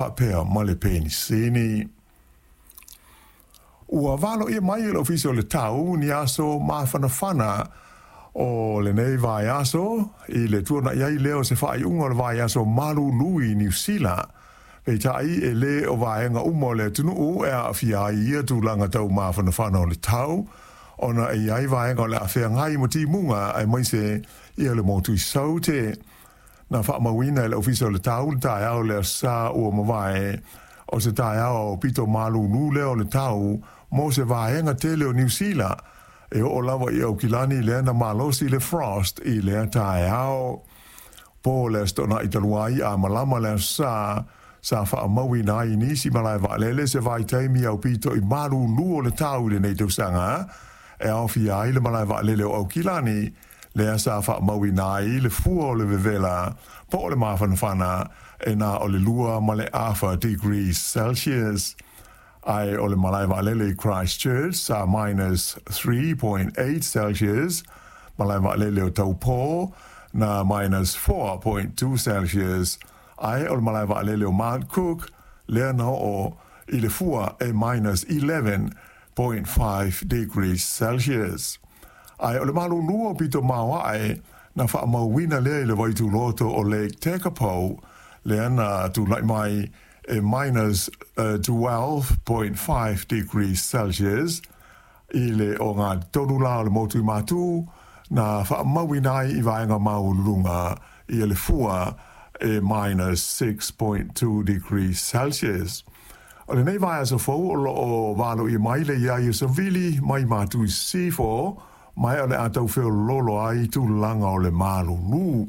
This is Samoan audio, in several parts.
Faapea ma le penisini. Ua valoia mai e le Ofisa o le Tau ni aso mafanafana o lenei vaiaso i le tuana'i ai lea o se faaiuga o le vaiaso malulu i Niu Sila. Peitai, e lē o vaega uma o le atunuu e aafia ai i ia tulaga tau mafanafana o le tau, ona e i ai vaega o le a feagai ma timuga aemaise ia le motu i Saute. Na faamauina e le Ofisa o le Tau le taeao o le Aso Sa ua mavae, o se taeao aupito malulu lea o le tau mo se vaega tele o Niu Sila, e oo lava i Aukilani lea na malosi le frost i lea taeao. Po le Aso Toonai talu ai a malama le Aso Sa, sa faamauina ai i nisi malae vaalele se vaitaimi aupito i malulu o le tau i lenei tausaga, e aofia ai le malae vaalele o Aukilani, lea sa faamauina ai le fua o le vevela po o le mafanafana e na o le 2.5 degrees Celsius. Ae o le malae vaalele i Christchurch sa minus 3.8 Celsius, malae vaalele o Taupō na minus 4.2 Celsius, ae o le malae vaalele o Mount Cook lea na oo i le fua e minus 11.5 degrees Celsius. Ae o le malulu aupito maoae na faamauina lea i le vaituloto o Lake Tekapo, lea na tulai mai e minus 12.5 degrees Celsius i le 63 lā o le motu i Matū, na faamauina ai i vaega maualuluga ia le fua e minus 6.2 degrees Celsius. O lenei vaiaso fou o lo o valoia mai le i ai o Savili mai Matū i Sisifo, ma o le a tau feoloolo ai tulaga o le malulu.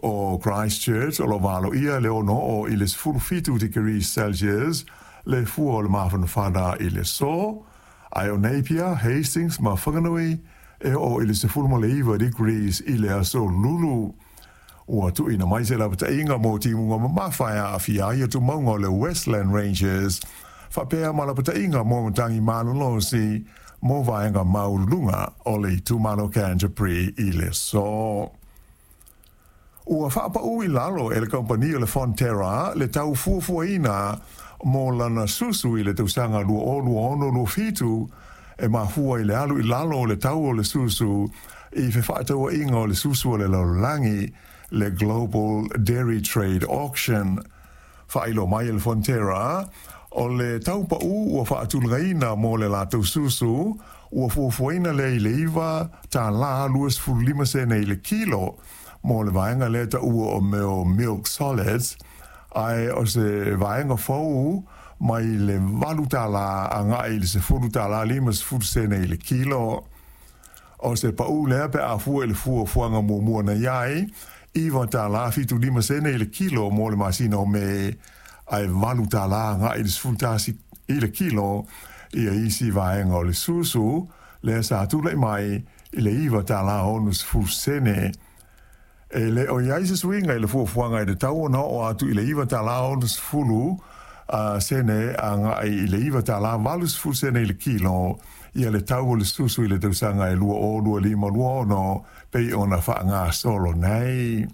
O Christchurch o lo o valoia le 6 oo i le 17 degrees Celsius le fua o le mafanafana i le aso, ae o Napier, Hastings ma Whanganui e oo i le 19 degrees i le aso Lulu. Ua tuuina mai se lapataiga mo timuga mamafa e aafia ai atumauga o le Westland Ranges, faapea ma lapataiga mo matagi malolosi mo vaega maualuluga o le itumalo Canterbury i le aso. Ua faapau i lalo e le kamupani o le Fonterra le tau fuafuaina mo lana susu i le tausaga 2026/27, e mafua i le alu i lalo o le tau o le susu i fefaatauaiga o le susu o le lalolagi, le Global Dairy Trade Auction. Faailoa mai e le Fonterra, o le tau pau ua faatulagaina mo le latou susu, ua fuafuaina lea i le $9.25 i le kilo mo le vaega lea taua o mea o milk solids, ae o se vaega fou mai le $8 agai i le $10.50 i le kilo. O se pau lea pe a fua i le fuafuaga muamua na i ai, $9.75 i le kilo mo le masina o Me, ae $8 agai i le 11 i le kilo ia isi vaega o le susu, lea sa tulai mai i le $9.60. E le o i ai se suiga i le fuafuaga i le tau ona oo atu i le $9.60 agai i le $9.80 i le kilo ia le tau o le susu i le tausaga e 2025/26 pei ona faagasolo nei.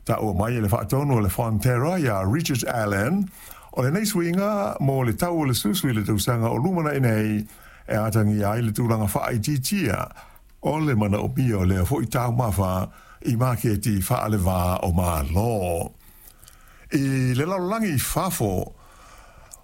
Taua mai e le faatonu o le Fonterra ia Richard Allen, o lenei suiga mo le tau o le susu i le tausaga o lumanai nei e atagia ai le tulaga faaitiitia o le manaomia o lea foi taumafa i maketi faalevā o Malo. I le lalolagi i fafo,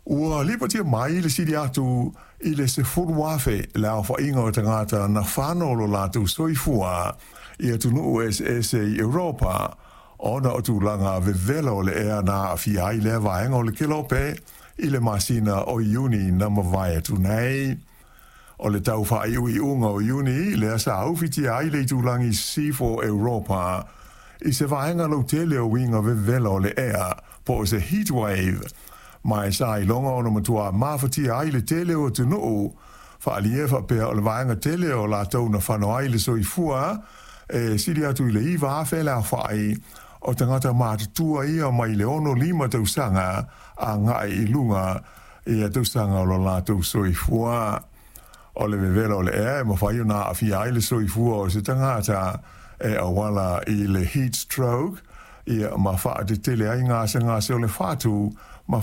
ua lipotia mai le sili atu i le 10,000 le aofaiga o tagata na fano lo latou soifua i atunuu eseese i Europa ona o tulaga vevela o le ea na aafia ai lea vaega o le kelope i le masina o Iuni na mavae atu nei. O le tau faaiuiuga o Iuni lea sa ufitia ai le itulagi Sisifo o Europa i se vaega lautele o uiga vevela o le ea, po o se heat wave, ma e sa iloga ona matua mafatia ai le tele o atunuu. Faaalia e faapea o le vaega tele o latou na fano ai le soifua, e sili atu i le 9,000 le aofai o tagata matutua ia mai le 65 tausaga agai i luga ia tausaga o lo latou soifua. O le vevela o le ea e mafai ona aafia ai le soifua o se tagata e auala i le heat stroke, ia ma faatetele ai gasegase o le fatu ma